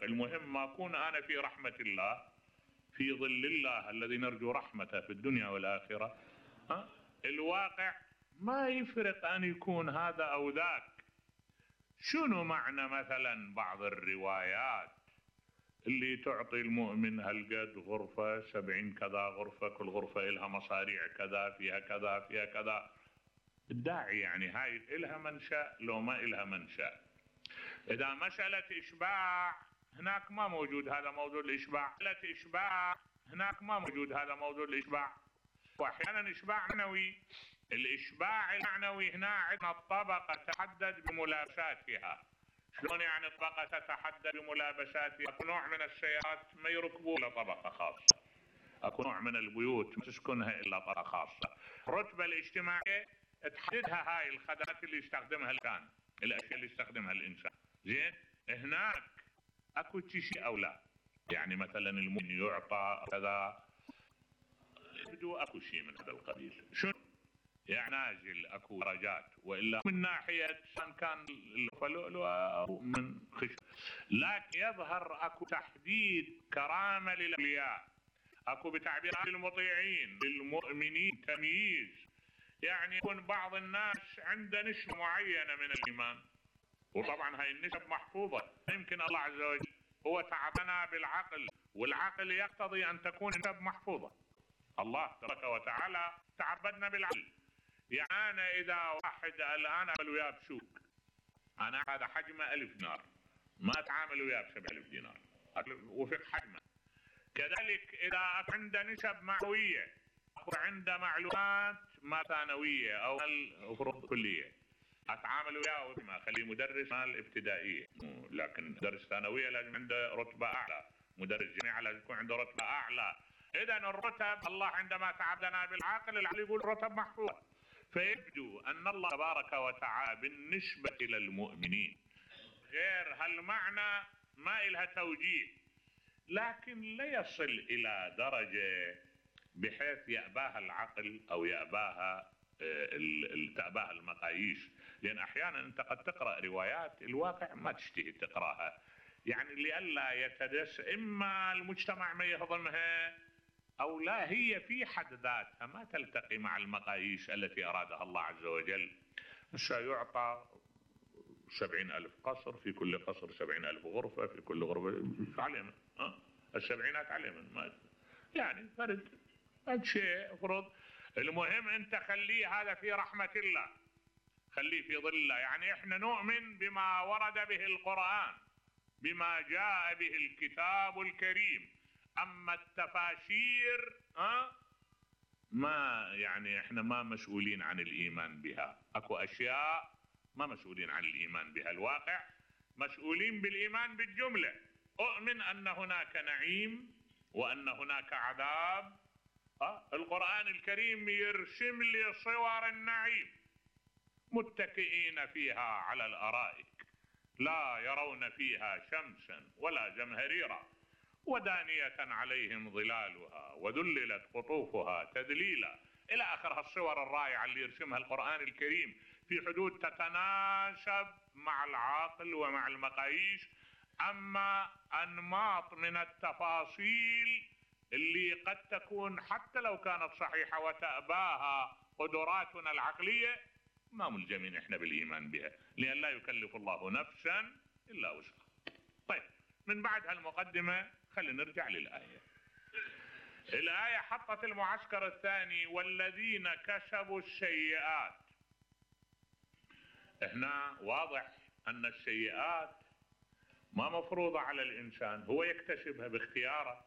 المهم ما أكون أنا في رحمة الله في ظل الله الذي نرجو رحمته في الدنيا والآخرة. الواقع ما يفرق أن يكون هذا أو ذاك. شنو معنى مثلا بعض الروايات اللي تعطي المؤمن هالقد غرفة 70 كذا غرفة، كل غرفة إلها مصاريع كذا، فيها كذا فيها كذا. الداعي يعني هاي إلها منشأ لو ما إلها منشأ. إذا مسألة إشباع هناك ما موجود هذا موضوع الإشباع، مسألة إشباع هناك ما موجود هذا موضوع الإشباع. وأحيانا إشباع معنوي. الإشباع المعنوي هنا عندنا الطبقة تتحدد بملابساتها. شلون يعني الطبقة تتحدد بملابساتها؟ أكو نوع من السيارات ما يركبوا إلا طبقة خاصة، أكو نوع من البيوت ما تسكنها إلا طبقة خاصة. الرتبة الاجتماعية تحددها هاي الخدمات اللي يستخدمها الإنسان، الأشياء اللي يستخدمها الإنسان. زين، هناك أكو شيء أو لا، يعني مثلا المؤمن يعطى كذا، يبدو أكو شيء من هذا القبيل. شنو؟ يعني نازل أكو درجات، وإلا من ناحية كان الفلؤلؤ أو من خشب، لكن يظهر أكو تحديد كرامة للأولياء، أكو بتعبير المطيعين للمؤمنين تمييز. يعني يكون بعض الناس عنده نسبة معينة من الإيمان، وطبعا هاي النسب محفوظة. يمكن الله عز وجل هو تعبنا بالعقل، والعقل يقتضي أن تكون النسب محفوظة. الله تبارك وتعالى تعبدنا بالعقل. يعني أنا إذا واحد الآن أعمل وياه بسوق، أنا هذا حجمه 1000 دينار، ما أتعامل وياه ب7000 دينار، وفق حجمه. كذلك إذا عنده نسب معنوية، عنده معلومات ما ثانوية أو المفروض كلية، أتعامل وياه ما أخليه مدرس مال ابتدائية، لكن مدرس ثانوية لازم عنده رتبة أعلى، مدرس جامعة لازم يكون عنده رتبة أعلى. إذا الرتب الله عندما تعبدنا بالعقل، العقل يقول رتب محفوظة. فيبدو أن الله تبارك وتعالى بالنسبة إلى المؤمنين غير هالمعنى ما إلها توجيه، لكن لا يصل إلى درجة بحيث يأباها العقل أو يأباها تأباها المقاييس. لأن أحيانا أنت قد تقرأ روايات الواقع ما تشتهي تقرأها، يعني لئلا يتدس، إما المجتمع ما يهضمها أو لا هي في حد ذاتها ما تلتقي مع المقاييس التي أرادها الله عز وجل. سيعطى 70,000 قصر، في كل قصر 70,000 غرفة، في كل غرفة علينا السبعينات علينا، ما يعني فرد شيء فرض. المهم أنت خليه هذا في رحمة الله، خليه في ظل الله. يعني إحنا نؤمن بما ورد به القرآن، بما جاء به الكتاب الكريم. أما التفاسير ما يعني إحنا ما مسؤولين عن الإيمان بها. أكو أشياء ما مسؤولين عن الإيمان بها. الواقع مسؤولين بالإيمان بالجملة. أؤمن أن هناك نعيم وأن هناك عذاب. القرآن الكريم يرسم لي صور النعيم، متكئين فيها على الأرائك لا يرون فيها شمسا ولا زمهريرا ودانية عليهم ظلالها وذللت قطوفها تذليلا، إلى آخر الصور الرائعة اللي يرسمها القرآن الكريم في حدود تتناسب مع العقل ومع المقاييس. أما أنماط من التفاصيل اللي قد تكون حتى لو كانت صحيحة وتأباها قدراتنا العقلية، ما ملزمين إحنا بالإيمان بها، لأن لا يكلف الله نفسا إلا وسعها. طيب، من بعد هالمقدمة خلينا نرجع للآية. الآية حطت المعسكر الثاني: والذين كسبوا السيئات. هنا واضح أن السيئات ما مفروضة على الإنسان، هو يكتسبها باختياره.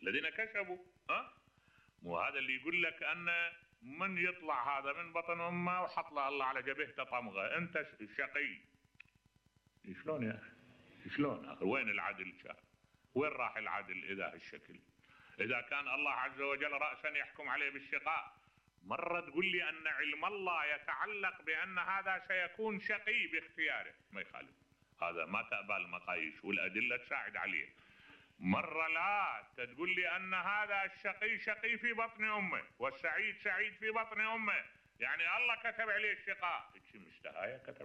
الذين كسبوا مو هذا اللي يقول لك أن من يطلع هذا من بطن أمه وحط له الله على جبهته طمغة أنت شقي. شلون يا أخي؟ شلون أخي؟ وين العدل شاف؟ وين راح العدل إذا هالشكل؟ إذا كان الله عز وجل رأسا يحكم عليه بالشقاء، مرة تقول لي أن علم الله يتعلق بأن هذا سيكون شقي باختياره، ما يخالف، هذا ما تأبى المقاييس والأدلة تساعد عليه. مرة لا تقول لي أن هذا الشقي شقي في بطن أمه والسعيد سعيد في بطن أمه، يعني الله كتب عليه الشقاء، مشتهاية كتب